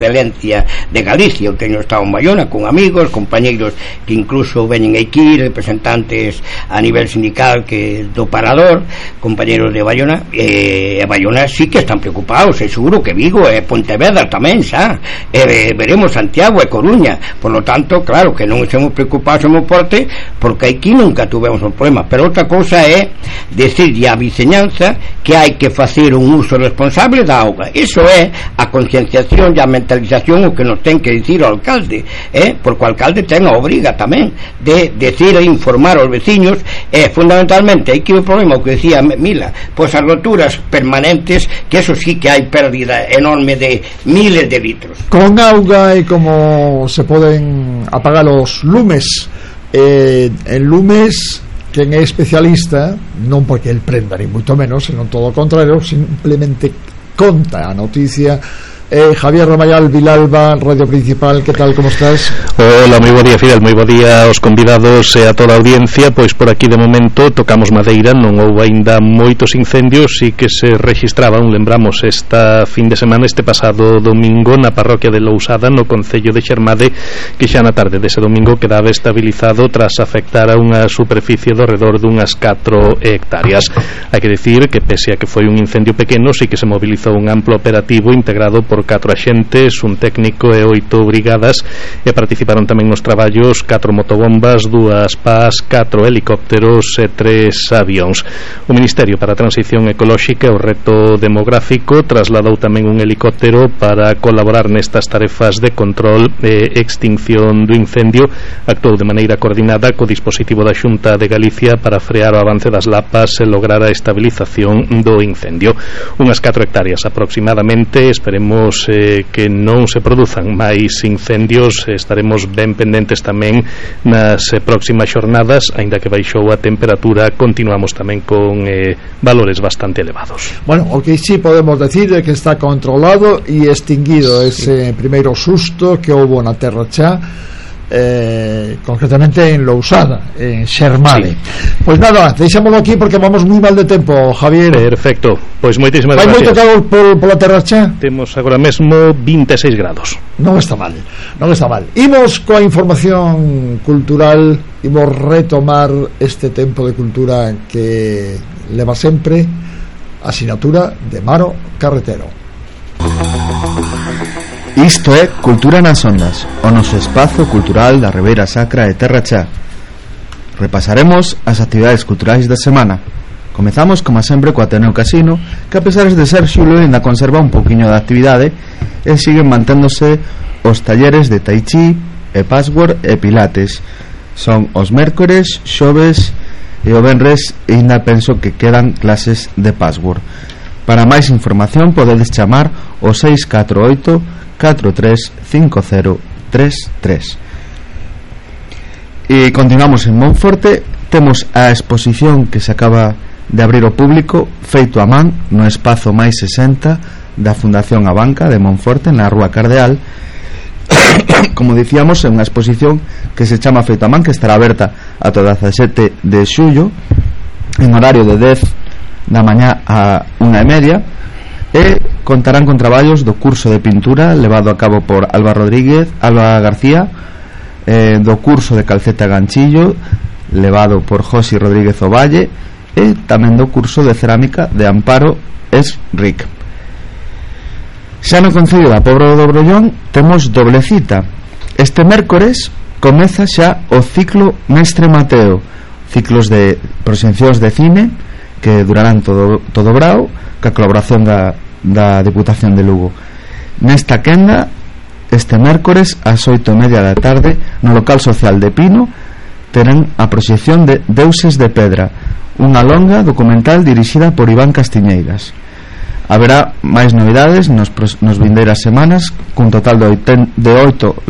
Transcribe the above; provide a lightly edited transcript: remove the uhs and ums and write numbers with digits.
excelencia de Galicia. Eu teño estado en Bayona con amigos, compañeiros que incluso veñen aquí, representantes a nivel sindical que do Parador, compañeiros de Bayona, e Bayona sí que están preocupados, e seguro que Vigo e Pontevedra tamén, xa, veremos Santiago e Coruña. Por lo tanto, claro, que non estemos preocupados en Monforte, porque aquí nunca tuvemos un problema. Pero outra cousa é decirlle á viceñanza que hai que facer un uso responsable da auga. Iso é a concienciación e a mentalización o que nos ten que dicir o alcalde, porque o alcalde ten a obriga tamén de decir e informar aos veciños, fundamentalmente hai que o problema, o que decía Mila, pois as roturas permanentes, que eso sí que hai pérdida enorme de miles de litros. Con auga e como se poden apagar os lumes, en lumes quen é especialista, non porque el prenda ni moito menos, senón todo o contrario, simplemente conta a noticia. Javier Ramayal, Vilalba, Radio Principal, que tal, como estás? Hola, moi bo día, Fidel, moi bo día aos convidados e a toda a audiencia. Pois por aquí de momento tocamos madeira, non houve aínda moitos incendios, sí que se registraban, lembramos, esta fin de semana, este pasado domingo, na parroquia de Lousada, no concello de Xermade, que xa na tarde dese domingo quedaba estabilizado tras afectar a unha superficie do redor dunhas 4 hectáreas. Hai que dicir que pese a que foi un incendio pequeno, sí que se mobilizou un amplo operativo integrado por 4 axentes, un técnico e 8 brigadas, e participaron tamén nos traballos 4 motobombas, 2 PAS, 4 helicópteros e 3 avións. O Ministerio para a Transición Ecolóxica e o Reto Demográfico trasladou tamén un helicóptero para colaborar nestas tarefas de control e extinción do incendio. Actuou de maneira coordinada co dispositivo da Xunta de Galicia para frear o avance das lapas e lograr a estabilización do incendio. Unhas 4 hectáreas aproximadamente. Esperemos que non se produzan máis incendios. Estaremos ben pendentes tamén nas próximas xornadas. Aínda que baixou a temperatura, continuamos tamén con valores bastante elevados. Bueno, o que sí podemos decir é que está controlado e extinguido ese primeiro susto que houve na Terra Chá, concretamente en Lousada, en Xermade. Pois nada, deixámoslo aquí porque vamos moi mal de tempo, Javier. Perfecto, pois moitísimas gracias. Vai moito calor pola Terra Chá? Temos agora mesmo 26 grados. Non está mal, non está mal. Imos coa información cultural, imos retomar este tempo de cultura que leva sempre a sinatura de Maro Carretero. Isto é Cultura nas Ondas, o noso espazo cultural da Ribeira Sacra e Terra Chá. Repasaremos as actividades culturais da semana. Comezamos, como sempre, co Ateneo Casino, que a pesar de ser xulo ainda conserva un pouquiño de actividade e siguen manténdose os talleres de Tai Chi e Password e Pilates. Son os mércores, xoves e o venres, e ainda penso que quedan clases de Password. Para máis información podedes chamar o 648 435033. E continuamos en Monforte. Temos a exposición que se acaba de abrir ao público, feito a man no espazo máis 60 da Fundación A Banca de Monforte, na Rúa Cardeal. Como dicíamos, é unha exposición que se chama Feito a man, que estará aberta ata o 17 de xullo en horario de 10 da mañá a 1:30, e contarán con traballos do curso de pintura levado a cabo por Alba García, do curso de calceta ganchillo levado por Josi Rodríguez Ovalle, e tamén do curso de cerámica de Amparo Esric. Xa no concello da Pobra do Brollón temos doble cita. Este mércores comeza xa o ciclo Mestre Mateo, ciclos de proxeccións de cine que durarán todo o brao, ca colaboración da Diputación de Lugo. Nesta quenda, este mércores ás 8:30 da tarde, no local social de Pino, terán a proxección de Deuses de Pedra, unha longa documental dirixida por Iván Castiñeiras. Haberá máis novidades nos vindeiras semanas, cun total de 8